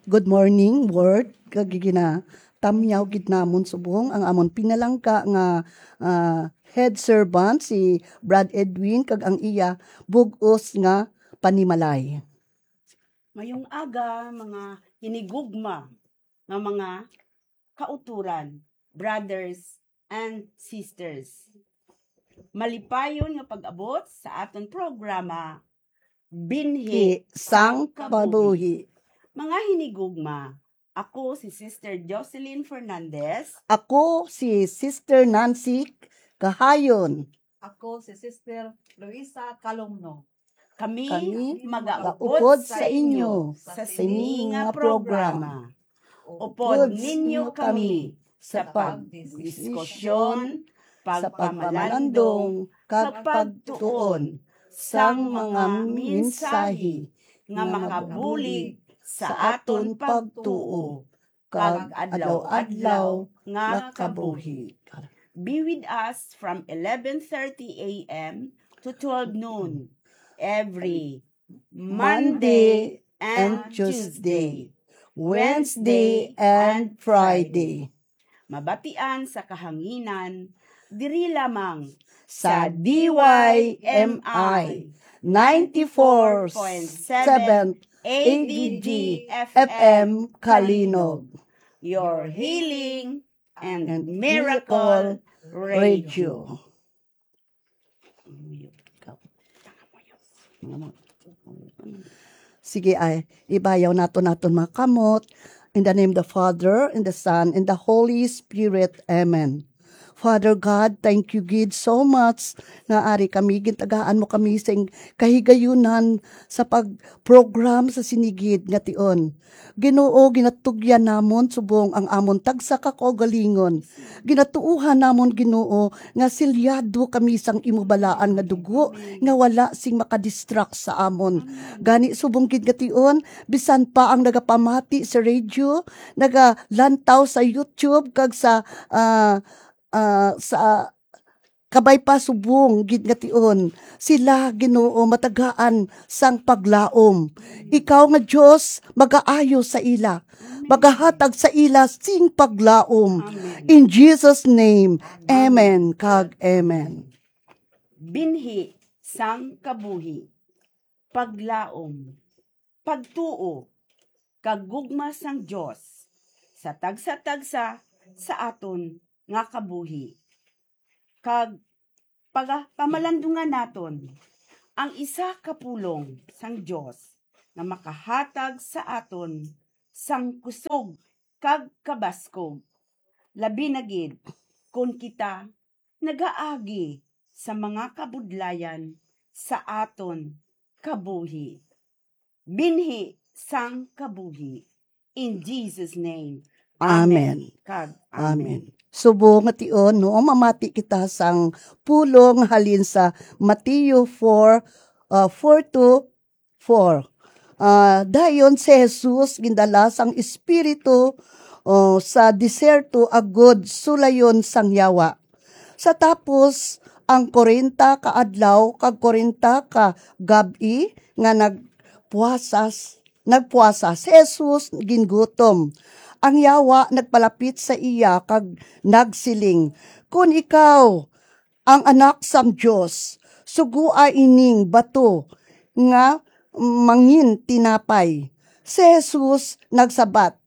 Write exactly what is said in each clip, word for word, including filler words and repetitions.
Good morning, Ward. Kag ginatamyaw gid namon subong ang amon pinalangga nga, ah, head servant, si Brad Edwin, kag ang iya bug-os nga panimalay. Mayong aga, mga hinigugma nga mga kauturan, brothers and sisters. Malipayon nga pag-abot sa aton programa, Binhi sang Kabuhi. Mga hinigugma, ako si Sister Jocelyn Fernandez. Ako si Sister Nancy Kahayon. Ako si Sister Luisa Calumno. Kami Kami magaupod magaupod sa sa inyo inyo sa sa sini sini nga nga programa. programa. Upod ninyo kami sa pagdiskusyon, pagpamalandong, kag pagtuon sang mga mensahe nga makabulig sa aton pagtuo kag adlaw-adlaw nga kabuhi. Be with us from eleven thirty a m to twelve noon every Monday and Tuesday, Wednesday and Friday. Mabatian sa kahanginan diri lamang sa D Y M I ninety-four point seven A D G F M Kalinog. Your healing and miracle radio. Sige, ay, ibayaw naton naton mga kamot. In the name of the Father, and the Son, and the Holy Spirit. Amen. Father God, thank you gid so much nga ari kami, gintagaan mo kami sing kahigayunan sa pag-program sa sini gid nga tion. Ginoo, ginatugyan namon subong ang amon tagsa ka kaugalingon. Ginatuohan namon, Ginoo, nga silyado kami sang imo balaan nga dugo nga wala sing makadistract sa amon. Gani, subong gid nga tion, bisan pa ang nagapamati sa radio, nagalantaw sa YouTube, kag sa, ah, ah, sa kabay pa, subong gid nga tion, sila, Ginoo, matagaan sang paglaom. Ikaw nga Dios, magaayo sa ila, magahatag sa ila sing paglaom. Amen. In Jesus' name, amen kag amen. Binhi sang kabuhi, paglaom, pagtuo, kag gugma sang Dios sa tagsa-tagsa sa aton nga kabuhi. Kag paga-, pamalandungan naton ang isa ka pulong sang Dios nga makahatag sa aton sang kusog kag kabaskog, labi na gid kon kita nagaagi sa mga kabudlayan sa aton kabuhi. Binhi sang kabuhi. In Jesus' name. Amen. Amen. Kag amen. Amen. Subong nga tion, no, mamati kita sang pulong halin sa Mateo four, uh, four to four. Ah, dayon si Jesus gindala sang Espiritu, oh, sa desierto agod sulayon sang yawa. Sa tapos ang kwarenta ka adlaw kag kwarenta ka gab-i nga nagpuasas-, nagpuasa, si Jesus gingutom. Ang yawa nagpalapit sa iya kag nagsiling, "Kon ikaw ang Anak sang Dios, sugua ining bato nga mangin tinapay." Si Jesus nagsabat,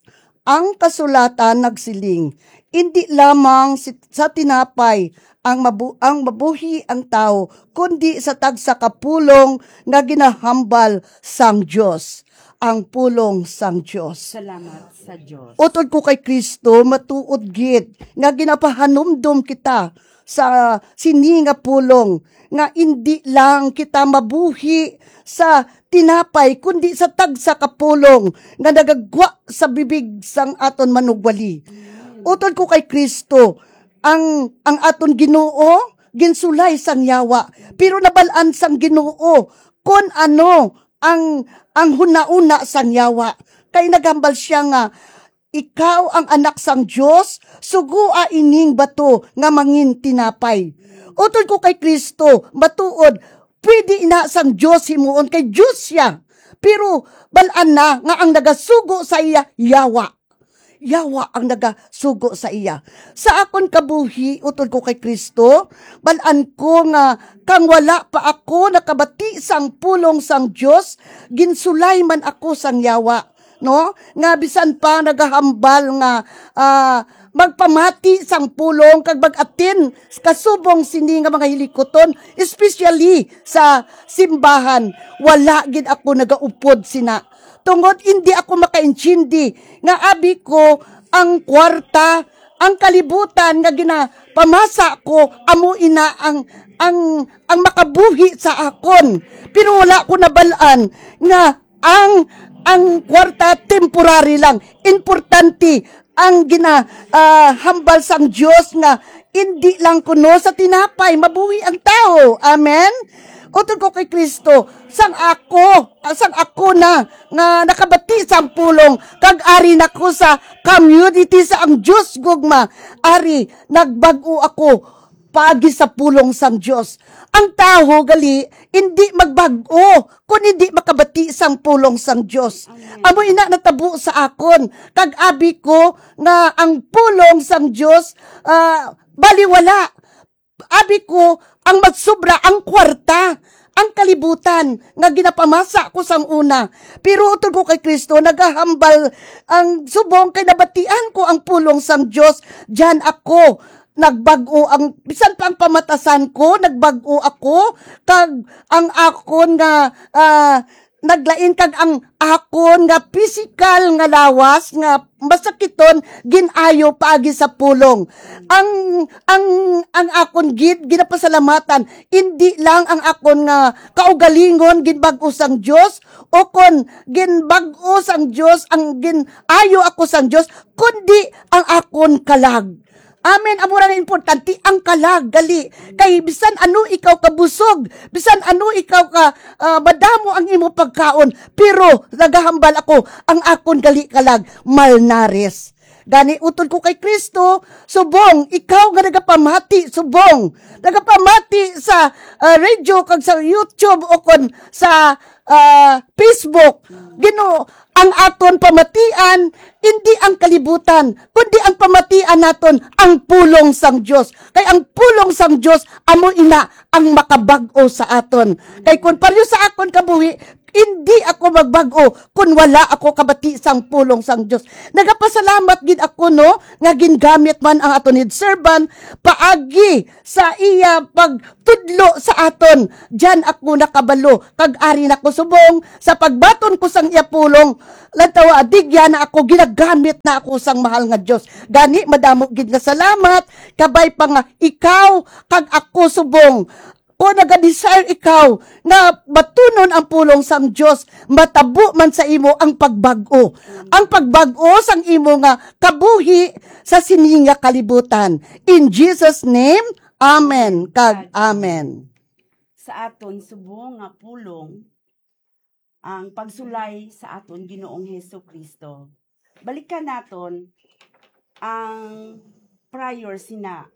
"Ang kasulatan nagsiling, 'Indi lamang si-, sa tinapay ang mabu-, ang mabuhi ang tawo, kundi sa tagsa ka pulong nga ginahambal sang Dios.'" Ang pulong sang Dios. Salamat sa Dios. Utod ko kay Kristo, matuod gid nga ginapahanumdom kita sa sini nga pulong, nga indi lang kita mabuhi sa tinapay, kundi sa tagsa ka pulong nga nagagwa sa bibig sang aton manugwali. Utod ko kay Kristo, ang, ang aton Ginoo ginsulay sang yawa, pero nabal-an sang Ginoo kon ano ang, ang hunahuna sang yawa. Kay naghambal sia nga, "Ikaw ang Anak sang Dios, sugua ining bato nga mangin tinapay." Utod ko kay Kristo, matuod, pwede ina sang Dios himuon kay Dios sia. Pero bal-an na nga ang nagasugo sa iya, yawa. Yawa ang nagasugo sa iya. Sa akon kabuhi, utod ko kay Kristo, bal-an ko nga kang wala pa ako nakabati sang pulong sang Dios, ginsulay man ako sang yawa, no? Nga bisan pa nagahambal nga, ah, magpamati sang pulong kag mag-attend kasubong sini nga mga hilikuton, especially sa simbahan, wala gid ako nagaupod sina. Tungod hindi ako makaintindi nga abi ko ang kwarta, ang kalibutan nga ginapamasa ko, amo ina ang, ang, ang makabuhi sa akon. Pero wala ko nabal-an nga ang, ang kwarta temporary lang. Importante ang gina, ah, hambal sang Dios nga hindi lang kuno sa tinapay mabuhi ang tawo. Amen? Utod ko kay Kristo, sang ako, sang ako na nga nakabati sang pulong, kag ari na ko sa community sa ang Dios gugma. Ari, nagbag-o ako paagi sa pulong sang Dios. Ang tawo gali hindi magbag-o kon hindi makabati sang pulong sang Dios. Amen. Amo ina natabo sa akon, kag abi ko nga ang pulong sang Dios, ah, baliwala. Abi ko, ang magsubra ang kwarta, ang kalibutan nga ginapamasa ko sang una. Pero utod ko kay Kristo, nagahambal ang subong kay nabatian ko ang pulong sang Dios. Diyan ako nagbag-o ang, bisan pa ang pamatasan ko, nagbag-o ako, kag ang akon nga, ah, naglain, kag ang akon nga pisikal nga lawas nga masakiton, gin-ayo paagi sa pulong. Ang, ang, ang akon gid ginapasalamatan, indi lang ang akon nga kaugalingon ginbag-o sang Dios, o kon ginbag-o sang Dios ang gin-ayo ako sang Dios, kundi ang akon kalag. Amen. Amo ra nga importante ang kalag, gali. Kay bisan ano ikaw kabusog, bisan ano ikaw ka, ah, madamo ang imo pagkaon, pero nagahambal ako, ang akon gali kalag, malnares. Gani, utod ko kay Kristo, subong, ikaw nga nagapamati, subong, nagapamati sa, ah, radio kag sa YouTube o kon sa, ah, Facebook. Ginoo, ang aton pamatian, indi ang kalibutan, kundi ang pamatian naton, ang pulong sang Dios. Kay ang pulong sang Dios, amo ina ang makabag-o sa aton. Kay kun pareho sa akon kabuhi, indi ako magbag-o kun wala ako kabati sang pulong sang Dios. Nagapasalamat gid ako, no, nga gingamit man ang aton head servant paagi sa iya pagtudlo sa aton. Diyan ako nakabalo, kag ari na ko subong sa pagbaton ko sang iya pulong. Lantawa, digya na ako, ginagamit na ako sang mahal nga Dios. Gani, madamo gid nga salamat, kabay pa nga ikaw kag ako subong. Kung naga-desire ikaw nga batunon ang pulong sang Dios, matabo man sa imo ang pagbag-o. Ang pagbag-o sang imo nga kabuhi sa sini nga kalibutan. In Jesus' name, amen kag amen. Sa aton subong nga pulong, ang pagsulay sa aton Ginoong Hesus-Kristo. Balikan naton ang prior sina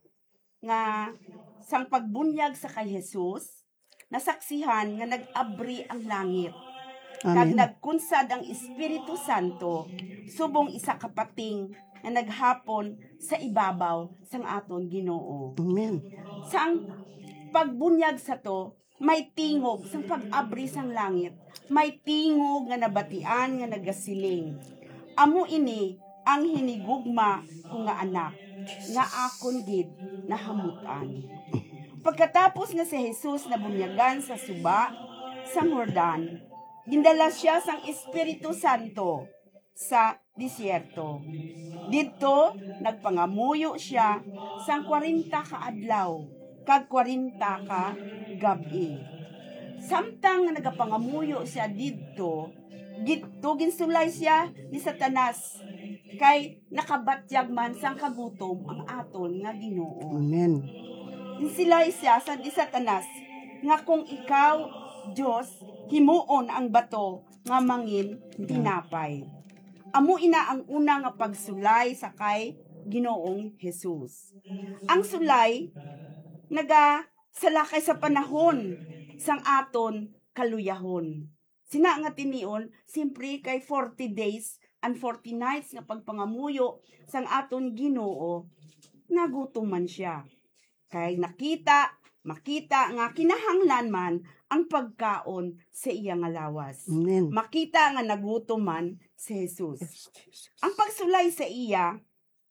nga sang pagbunyag sa kay Jesus, nasaksihan nga nag-abri ang langit, kag Amen. nagkunsad ang Espiritu Santo subong isa ka pating nga naghapon sa ibabaw sang aton Ginoo. Amen. Sang pagbunyag sa to, may tingog sang pag-abri sang langit, may tingog nga nabatian nga nagasiling, "Amo ini ang hinigugma ko nga Anak, nga akon gid nahamut-an." Pagkatapos nga si Jesus nabunyagan sa suba sang Jordan, gindala sia sang Espiritu Santo sa desierto. Didto nagpangamuyo sia sang kwarenta ka adlaw kag kwarenta ka gab-i. Samtang nga nagapangamuyo sia didto, didto ginsulay sia ni Satanas, kay nakabatyag man sang kagutom ang aton nga Ginoo. Amen. Ginsulay sia sa ni Satanas nga, "Kung ikaw Dios, himuon ang bato nga mangin tinapay." Amo ina ang una nga pagsulay sa kay Ginoong Jesus. Ang sulay nagasalakay sa panahon sang aton kaluyahon. Sina nga tinion, simpre kay forty days and forty nights nga pagpangamuyo sang aton Ginoo, nagutom man siya. Kay nakita, makita nga kinahanglan man ang pagkaon sa iya nga lawas. Amen. Makita nga nagutom man si Jesus. Ang pagsulay sa iya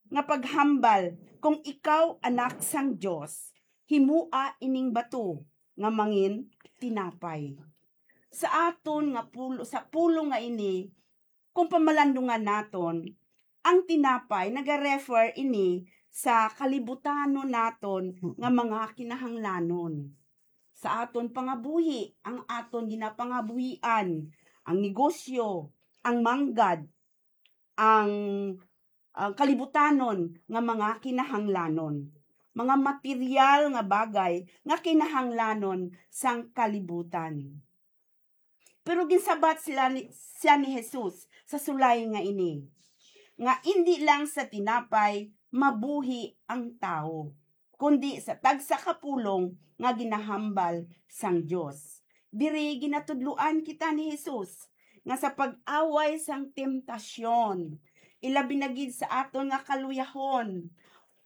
nga paghambal, "Kung ikaw anak sang Dios, himoa ining bato nga mangin tinapay." Sa aton nga pulo, sa pulong nga ini, kung pamalandungan naton, ang tinapay nagarefer ini sa kalibutanon naton nga mga kinahanglanon. Sa aton pangabuhi, ang aton ginapangabuhian, ang negosyo, ang manggad, ang, ang kalibutanon nga mga kinahanglanon, mga material nga bagay nga kinahanglanon sang kalibutan. Pero ginsabat sila ni, siya ni Jesus sa sulay nga ini, nga indi lang sa tinapay mabuhi ang tawo, kundi sa tagsa ka pulong nga ginahambal sang Dios. Diri ginatudloan kita ni Jesus nga sa pag-away sang temptasyon, ilabi na gid sa aton nga kaluyahon,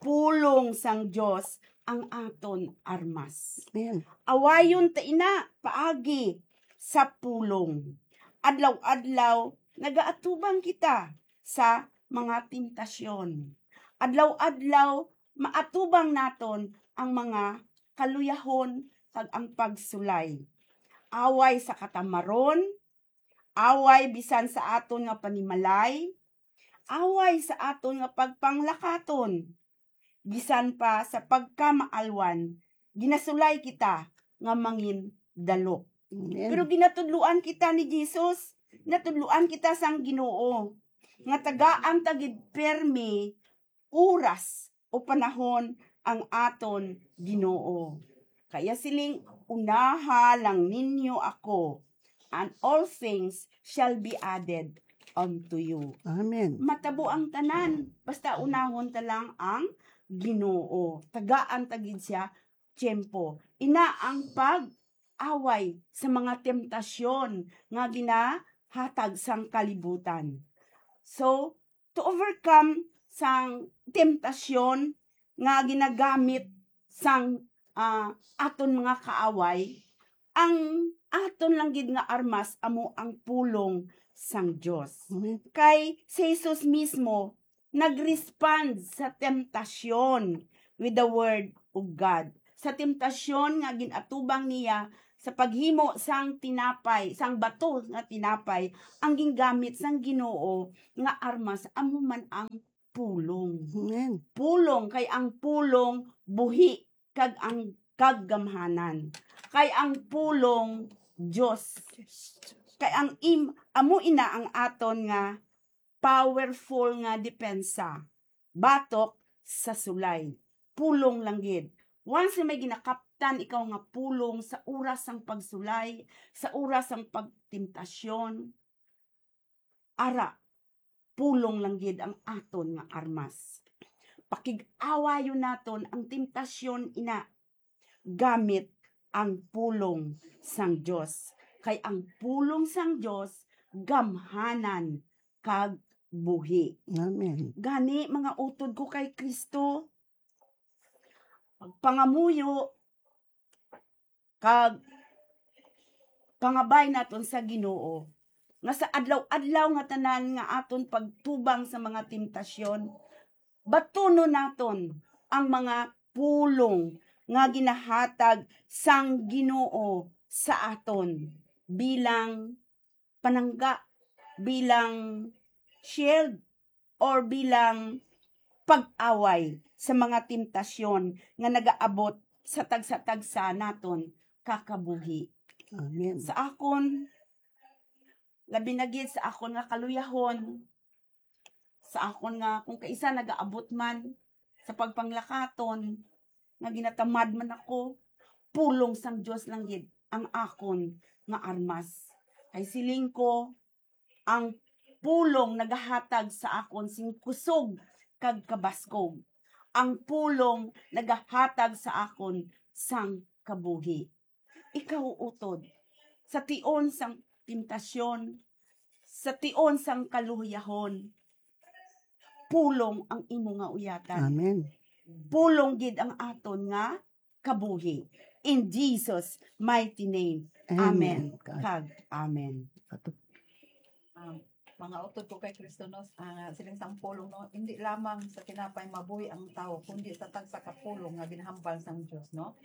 pulong sang Dios ang aton armas. Amen. Awayon ta ina paagi sa pulong. Adlaw-adlaw nagaatubang kita sa mga temptasyon. Adlaw-adlaw maatubang naton ang mga kaluyahon kag ang pagsulay. Away sa katamaron, away bisan sa aton nga panimalay, away sa aton nga pagpanglakaton, bisan pa sa pagkamaalwan, ginasulay kita nga mangin dalok. Amen. Pero ginatudloan kita ni Jesus, natudloan kita sang Ginoo nga tagaan ta gid permi oras o panahon ang aton Ginoo. Kaya siling, "Unaha lang ninyo ako, and all things shall be added unto you." Amen. Matabo ang tanan, basta unahon ta lang ang Ginoo. Tagaan ta gid siya tiyempo. Ina ang pag-away sa mga temptasyon nga ginahatag sang kalibutan. So, to overcome sang temptasyon nga ginagamit sang, ah, aton mga kaaway, ang aton lang gid nga armas amo ang pulong sang Dios. Amen. Kay si Jesus mismo nag-respond sa temptasyon with the word of God. Sa temptasyon nga ginatubang niya sa paghimo sang tinapay, sang bato nga tinapay, ang gingamit sang Ginoo nga armas amo man ang pulong. Amen. Pulong, kay ang pulong buhi, kag ang kag gamhanan. Kay ang pulong Dios. Kay ang im amo ina ang aton nga powerful nga depensa batok sa sulay. Pulong lang gid. Once nga may ginakaptan ikaw nga pulong sa oras sang pagsulay, sa oras sang pagtemptasyon, ara, pulong lang gid ang aton nga armas. Pakig-awayon naton ang temptasyon ina gamit ang pulong sang Dios. Kay ang pulong sang Dios gamhanan kag buhi. Amen. Gani, mga utod ko kay Kristo, pagpangamuyo kag pangabay naton sa Ginoo, nga sa adlaw-adlaw nga tanan nga aton pagtubang sa mga temptasyon, batunon naton ang mga pulong nga ginahatag sang Ginoo sa aton bilang panangga, bilang shield, or bilang pag-away sa mga temptasyon nga nagaabot sa tagsa-tagsa naton kakabuhi. Amen. Sa akon, labi na gid sa akon nga kaluyahon, sa akon nga kung kaisa nagaabot man sa pagpanglakaton, nga ginatamad man ako, pulong sang Dios lang gid ang akon nga armas. Kay siling ko, ang pulong nagahatag sa akon sing kusog kag kabaskog. Ang pulong nagahatag sa akon sang kabuhi. Ikaw, utod, sa tion sang temptasyon, sa tion sang kaluhiyahon, pulong ang imo nga uyatan. Amen. Pulong gid ang aton nga kabuhi. In Jesus' mighty name. Amen. Amen. God. Kag amen. Ato. Um, mga utod ko kay Kristo, no, ah, siling sang pulong, no, hindi lamang sa tinapay mabuhi ang tawo, kundi sa tagsa ka pulong nga ginhambal sang Dios, no.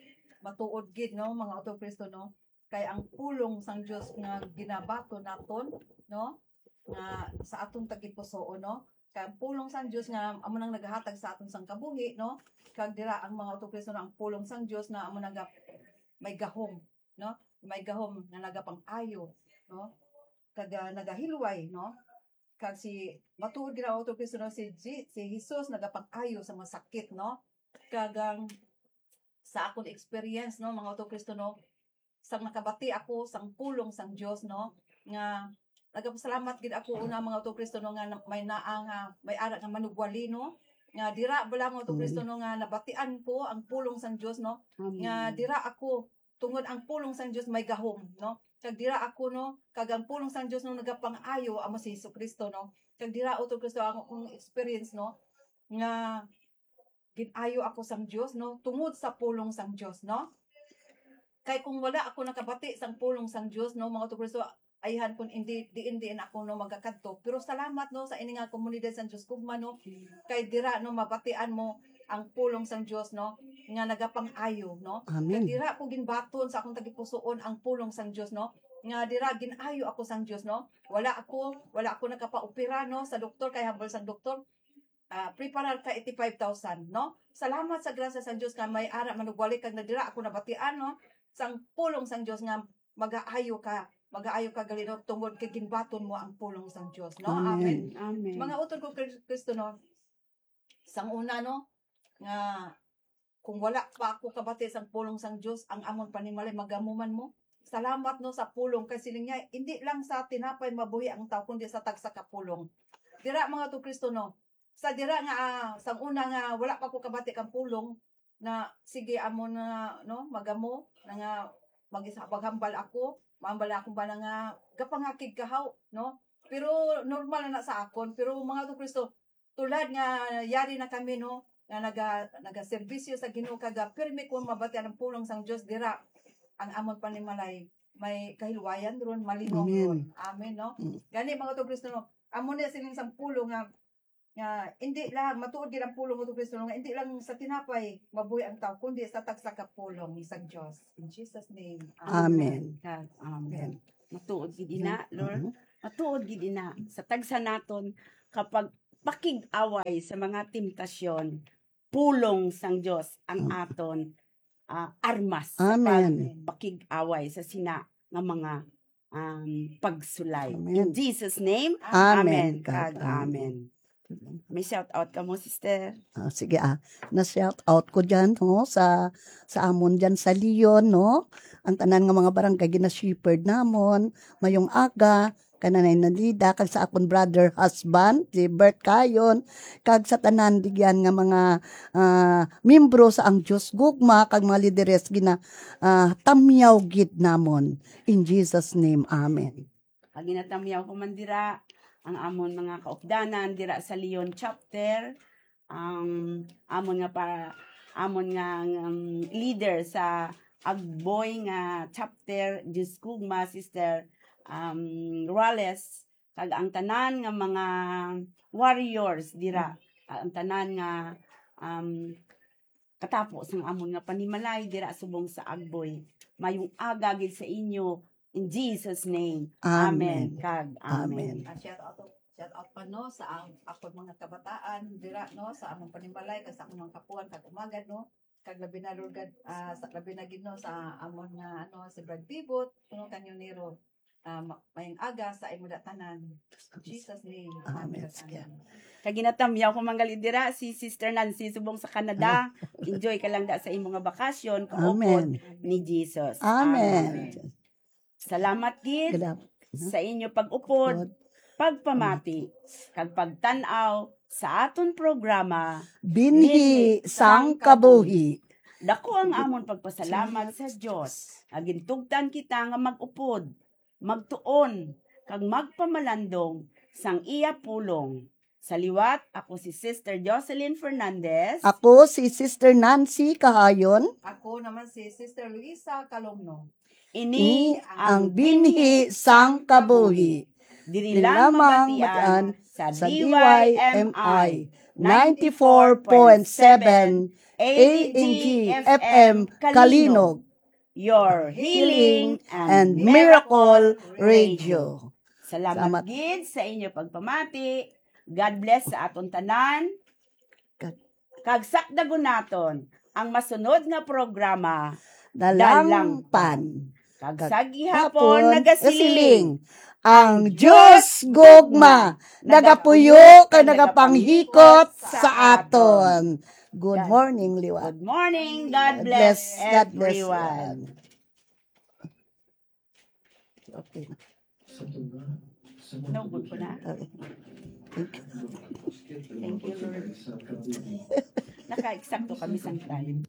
Matuod gid, no, mga utod Kristo, no, kay ang pulong sang Dios nga ginabaton naton, no, nga sa aton tagipusoon, no, kay ang pulong sang Dios nga amo nang nagahatag sa aton sang kabuhi, no, kag dira ang mga utod Kristo, no, ang pulong sang Dios na amo naga may gahom, no, may gahom nga nagapang-ayo, no, kag, ah, nagahilway, no. Kag si, matuod gid ang utod Kristo, no, si Ji-, si Jesus nagapang-ayo sa mga sakit, no. Kag ang sa akon experience, no, mga utod Kristo, no, sang nakabati ako sang pulong sang Dios, no, nga nagapasalamat gid ako una, mga utod Kristo, no, nga na-, may naa nga, may ara nga manugwali, no, nga dira bala, mga utod Kristo, no, nga nabatian ko ang pulong sang Dios, no, nga dira ako tungod ang pulong sang Dios may gahom, no? Kag dira ako, no? Kag ang pulong sang Dios, no, nagapang-ayo, amo si Jesu-Cristo, no? Kag dira, utod Kristo, ang akong experience, no, nga gin-ayo ako sang Dios, no, tungod sa pulong sang Dios, no? Kay kung wala ako nakabati sang pulong sang Dios, no, mga utod Kristo, ayhan kun indi, diin, diin ako, no, magakadto. Pero salamat, no, sa ini nga komunidad sang Dios Gugma, no, kay dira, no, mabatian mo ang pulong sang Dios, no, nga nagapang-ayo, no. Amen. Kag dira ko ginbaton sa akong tagipusoon ang pulong sang Dios, no, nga dira gin-ayo ako sang Dios, no. Wala ako, wala ako nakapaopera, no, sa doktor, kay hambal sang doktor, ah, preparar ka eighty-five thousand, no. Salamat sa grasya sang Dios nga may ara manugwali kag nadira ako nabatian, no, sang pulong sang Dios nga magaayo ka, magaayo ka gali, no, tungod kay ginbaton mo ang pulong sang Dios, no. Amen. Amen. Amen. Mga utod ko Kris-, Kristo, no, sang una, no, nga kung wala pa ako kabati sang pulong sang Dios, ang amon panimalay magamuman mo. Salamat, no, sa pulong, kay siling niya, hindi lang sa tinapay mabuhi ang tawo, kundi sa tagsa ka pulong. Dira, mga utod Kristo, no, sa dira nga, ah, sang una nga wala pa ko kabati kang pulong, na sige, amo na, no, magamo na nga mag-, maghambal ako, mahambal ako ba na nga gapangakig kahaw, no? Pero normal na, na sa akon. Pero mga utod Kristo, tulad nga yari na kami, no, nga naga-, nagaserbisyo sa Ginoo, kag, ah, pirmi ko mabati ang pulong sang Dios dira, ang amon panimalay may kahilwayan ron, malinong ron. Amen. Amen, no? Mm. Gani, mga utod Kristo, no, amo ni siling sang pulong nga nga hindi lang, matuod gid ang pulong, utod Kristo, nga hindi lang sa tinapay mabuhi ang tawo, kundi sa tagsa ka pulong sang Dios. In Jesus' name. Amen. Amen. Kag amen. Amen. Matuod gid ina, Lord. Mhm. Matuod gid ina sa tagsa naton kapag pakig-away sa mga temptasyon, pulong sang Dios ang aton, ah, armas sa pag-, pakig-away sa sina nga mga, um, pagsulay. Amen. In Jesus' name, amen. Amen. Kag amen. May shout out ka mo, sister? Ah, sige, ah. Na-shout out ko dyan, no, sa, sa amon dyan sa Leon, no? Ang tanan nga mga barangay, gina-shepherd namon, mayong aga, kay Nanay Nalida, kag sa akon brother, husband, si Bert Cayon, kag sa tanan digyan nga mga, ah, miyembro sa Ang Dios Gugma, kag mga lideres, gina-, ah, tamyaw gid namon. In Jesus' name, amen. Kag ginatamyaw ko man dira ang amon mga kaupdanan dira sa Leon Chapter, ang amon nga pa-, amon nga, um, leader sa Agboy nga Chapter, Dios Gugma, Sister, um, Rales, kag ang tanan nga mga warriors dira, ang tanan nga, um, katapo sang amon nga panimalay dira subong sa Agboy. Mayong aga gid sa inyo, in Jesus' name. Amen. Amen. Kag amen. Amen. Ah, shout out, shout out pa, no, sa ang, akon mga kabataan dira, no, sa among panimalay kag sa akong mga kapuan kag umagad, no, kag labi na, Lord God, ah, sa, labi na gid, no, sa amon nga, ano, si Brad Pivot, no, kag Nero. Ah, ma-, mayong aga sa imo da tanan. In Jesus' name. Amen. Amen. Kag ginatamyaw ko man gali dira si Sister Nancy subong sa Canada. Ah. Enjoy ka lang da sa imo nga bakasyon, kaupod ni Jesus. Amen. Amen. Salamat gid sa inyo pag-upod, pagpamati, kag pagtan-aw sa aton programa, Binhi sang Kabuhi. Dako ang amon pagpasalamat sa Dios nga gintugtan kita nga mag-upod magtuon kag magpamalandong sang iya pulong. Sa liwat, ako si Sister Jocelyn Fernandez. Ako si Sister Nancy Kahayon. Ako naman si Sister Luisa Calomno. Ini Ini ang binhi sang kabuhi. Diri Diri lang lamang mabatian mabatian sa sa D Y M I D Y M I ninety-four point seven A N G F M Kalinog. Your healing And and miracle Miracle radio. Radio. Salamat Salamat. gid sa inyo pagpamati. God bless sa aton tanan. God. Kag sakdagon naton ang masunod nga programa. Dalangpan. Kag Kag sa gihapon Hapon, nagasiling. nagasiling. Ang Diyos gugma, nagapuyo kag nagapanghikot sa aton. Good morning, liwat. Good morning. God God bless bless, God bless everyone. Okay. No, good po na. Okay. Thank you, Lord. Naka-eksakto kami sa time.